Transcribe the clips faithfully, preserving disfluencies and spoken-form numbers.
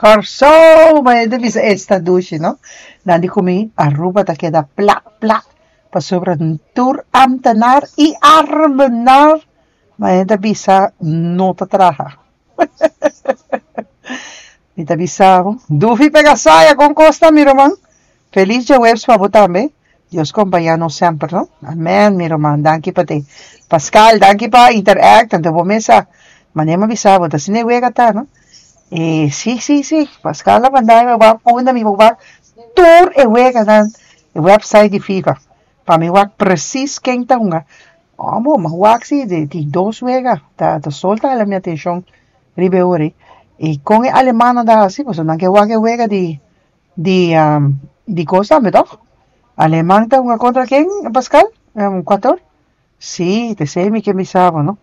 Kòrsou, ma e ta bisa esta dushi, no? Nan di ku mi Aruba ta keda plat plat pasobra tur ambtenaar i arbenaar, ma e ta bisa no ta traha. Mi ta bisa bo, Dufi pega saya kon kos ta, mi ruman? Felis djaweps pa bo tambe. Dios kompañá nos semper, no? Amen, mi ruman, danki pa te. Pascal, danki pa interact, anto bo mesa manera mi a bisa bo, ta asina e wega ta, no? E sí, sí, sí, Pascal a manda mi wak unda mi por wak tur e weganan, e website di FIFA, pa mi wak precies ken ta hunga. Amo, mi a wak si, tin dos wega, ta ta sol ta hala mi atenshon riba e ora ei. I kon e alemannan ta hasi, pasobra nan ke wak e wega di di di kos tambe tòg? Aleman ta hunga kontra ken, Pascal? Kuator? Sí, ta esei mi ke bisa bo, no?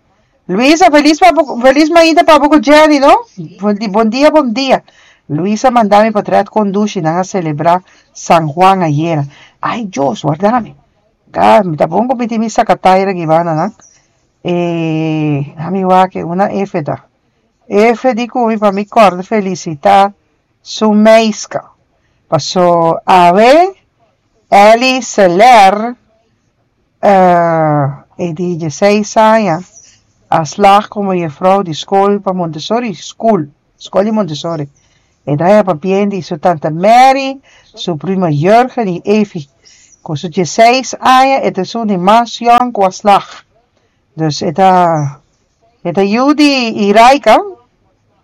Luisa, felis pa bo, felis mainta pa bo ku Jenny, no? Bon dia, bon dia. Luisa a manda mi potret kon dushi nan a selebrá San Juan ayera. Ai, Dios, warda mi. Ga, mi ta bon ku mi tin mi sakataira aki banda nan. E, mi wak e una F ta. F di ku mi pa mi kòrda felisitá su meiska. Paso awe Ellie Seler e di dieseis aña a slag komo juffrouw di skol pa Montessori School, skol di Montessori. E ta haña papia di su tanta Mary, su prima Jurgen i Evi. Ku su dieseis aña e ta esun di mas yòn ku a slag. Dus e ta e ta yu di Iraika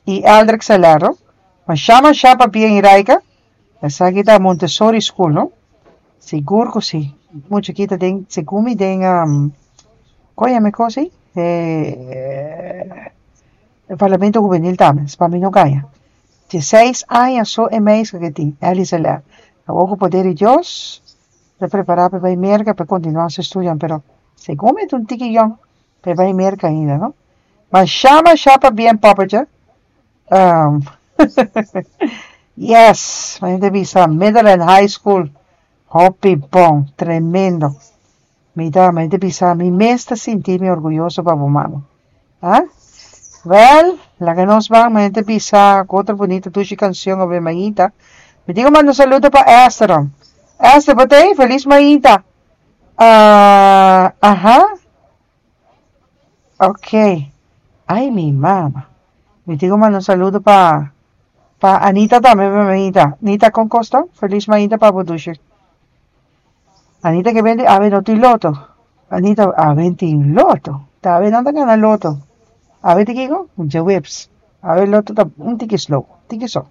i Eldrick Seler, no? Masha masha papia Iraika. Esaki ta Montessori School, no? Sigur ku si. Mucha aki ta den segun mi den kon yama e kos ei? E Parlamento Hubenil tambe, pa mi no gaña. Dieseis aña so e meiske ke tin, Ellie Seler. Awor ku poder di Dios ta prepará pa e bai Merka pa e kontinuá su estudio, pero segun mi ta un tiki yòn pa e bai Merka ainda, no? Masha masha pabien poppetje. Yes, mi ta bisa Middle and High School hopi bon, tremendo. Mi ta mi ta bisa mi mes ta sinti mi orguyoso pa bo mama. Ah? Wel, laga nos ban, mi ta bisa ku otro bunita dushi kanshon awe mainta. Mi tin ku manda un saludo pa Esther. Esther, bo ta ei? Felis mainta. Ah, aha. Ok. Ai, mi mama. Mi tin ku manda un saludo pa pa Anita tambe, mainta. Anita, kon kos ta? Felis mainta pa bo dushi. Anita ke bende awe no tin loto. Anita, awe tin loto. Ta awe nan ta gana loto. Awe tin kiko? Djaweps. Awe loto ta un tiki slow, tiki so.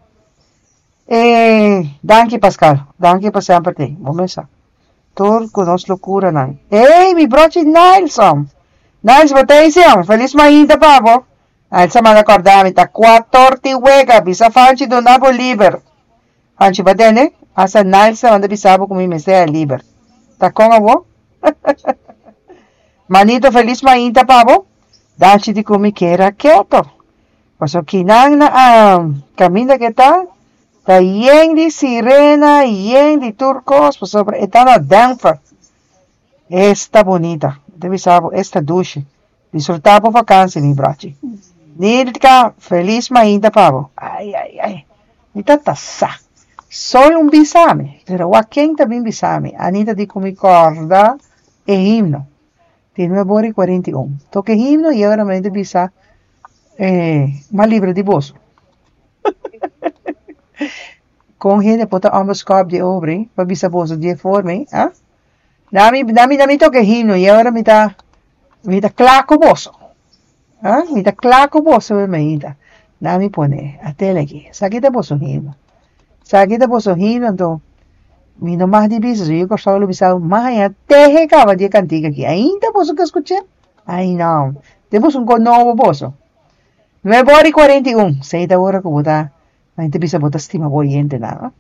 E, danki Pascal. Danki pa semper t'ei. Bo mesa. Tur ku nos lokuranan. Ey, mi brochi Nilson! Niles, bo ta ei sión? Felis mainta pa bo. Niles a manda kòrda mi ta kuator ti wega. Bisa Fanchi duna bo liber. Fanchi bo a tende? Hasta Niles ta manda bisa bo ku mi mester a liber. Ta kon abo? Manito, felis mainta pa bo. Dachi di ku mi kera keto. Pasobra kinan na kaminda ke ta, ta yen di sirena, yen di tur kos, pasobra e ta na Denver. Esta bunita. Mi ta bisa bo, esta dushi. Disfrutá bo vakansi, mi brochi. Nilka, felis mainta pa bo. Ai, ai, ai. Mi ta ta sa. Soy un bisa mi, pero wak ken ta bin bisa mi. Anita di ku mi kòrda e himno. Tin nuebe ora i kuarenta i un. Toka e himno i ora mi ta bisa eh, mas libre di boso. Kon hende por ta onbeskòp di obra pa bisa boso di e forma ei, ah? Nami, nami, nami toka e himno i ora mi ta, mi ta kla ku boso. Ah, mi ta kla ku boso mi mainta. Nami pone a tele aki. Esaki ta boso himno. Esaki ta boso himno, anto mi no mag di bisa, so yu Kòrsou lo bisa m'a haña tehe kaba di e kantika aki. Ainda boso ke skuch'é? Ai no. Te boso un kos nobo boso. Nuebe ora i kuarenta i un. Sei ta ora ku bo ta, mi ta bisa bo ta stima bo oyentenan, no?